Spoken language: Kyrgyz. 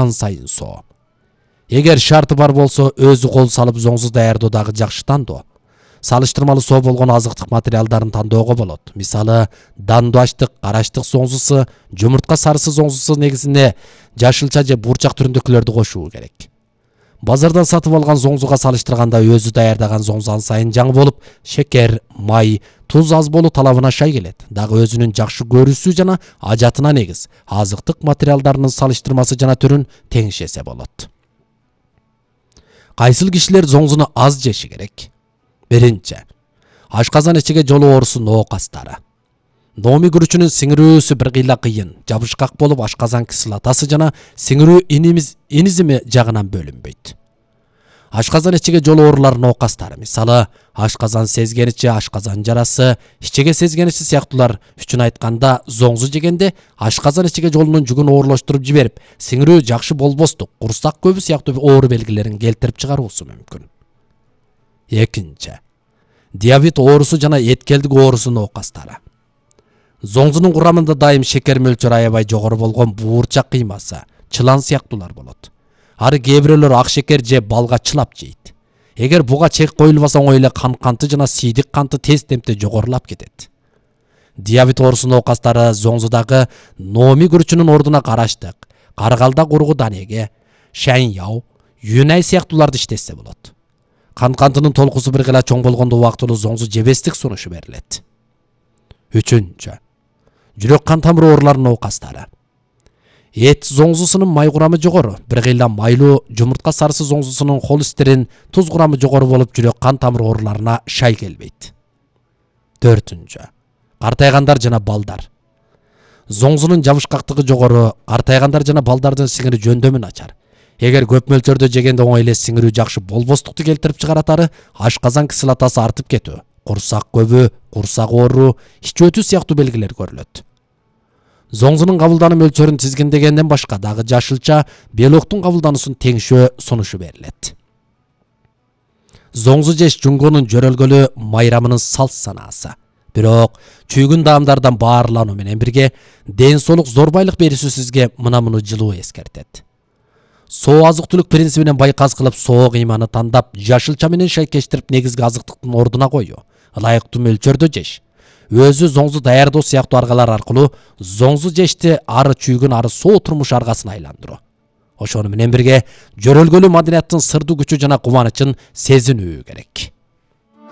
сайын соо. Эгер шарты бар болсо өзү кол салып зоңзу даярдоо дагы жакшы тандоо. Салыштырмалуу соо болгон азыктык материалдарын тандоого болот. Мисалы, дандуаштык, караштык зоңзусу, жумуртка сарысы зоңзусу негизинде жашылча же бурчак түрүндөгүлөрдү кошуу керек. Базардан сатып алган зоңзуга салыштырганда өзү даярдаган зоңзу сайын жаңы болуп, шекер, май, туз аз болуу талабына шай келет. Дагы өзүнүн жакшы көрүүсү жана ажатына негиз азыктык материалдарынын салыштырмасы жана түрүн теңшесе болот. Кайсыл кишилер зоңзуну аз жеши керек? Биринчи, ашказан ичиге жолуу оорусу ноокастары. Номи күрүчүнүн сиңирүүсү бир кыйла кыйын, жабышкак болуп ашказан кислотасы жана сиңирүү инизими жагынан бөлүнбөйт. Ашказан ичиге жолуу оорулар ноокастары, мисалы, ашказан сезгеничи, ашказан жарасы, ичиге сезгеничи сыяктуулар үчүн айтканда, зоңзу жегенде ашказан ичиге жолунун жүгүн оорлоштуруп жиберип, сиңирүү жакшы болбостук, курсак көбү сыяктуу оору белгилерин келтирип чыгаруусу мүмкүн. Экинчи, диабет оорусу жана эткелдик оорусу ноокастары. Зоңзунун курамында дайым шекер мөлчөрү аябай жогору болгон буурчак кыймасы, чылан сыяктуулар болот. Ары кээ бирөөлөр ак шекер же балга чылап жейт. Эгер буга чек коюлбаса оңой эле кан канты жана сийдик канты тез темпте жогорулап кетет. Диабет оорусу ноокастары зоңзудагы номи күрүчүнүн ордуна караштык, каргалда кургу данеге, шаң-яу, юнай сыяктууларды иштетсе болот. Кан кантынын толкусу бир кыйла чоң болгондо убактылуу зоңзу жебестик сунушу берилет. Үчүнчү, жүрөк кан тамыр ооруларынын ноокастары. Эт зоңзусунун май курамы жогору, бир кыйла майлуу жумуртка сарысы зоңзусунун холестерин, туз курамы жогору болуп жүрөк кан тамыр ооруларына шай келбейт. Төртүнчү, картайгандар жана балдар. Зоңзунун жабышкактыгы жогору, картайгандар жана балдардын сиңири жөндөмү начар. Эгер көп мөлчөрдө жегенде оңой эле сиңирүү жакшы болбостукту келтирип чыгаратары, ашказан кислотасы артып кетүү, курсак көбү, курсак оору, ич өтүү сыяктуу белгилер көрүлөт. Зоңзунун кабылдануу мөлчөрүн тизгиндегенден башка дагы жашылча белоктун кабылдануусун теңшөө сунушу берилет. Зоңзу жеш жунгонун жөрөлгөлү майрамынын салт санаасы. Бирок чүйгүн даамдардан баарлануу менен бирге ден соолук зорбайлык берүүсү сизге муну жылуу эскертет. Соо азык-түлүк принцибинен байказ кылып соо кыйманы тандап, жашылча менен шайкештирип негизги азыктыктын ордуна коюу, ылайыктуу мөлчөрдө жеш. Өзү зоңзу даярдоо сыяктуу аргалар аркылуу зоңзу жешти ары чүйгүн ары соо турмуш аргасына айландыруу. Ошону менен бирге жөрөлгөлүү маданияттын сырдуу күчү жана кубанычын сезинүү керек.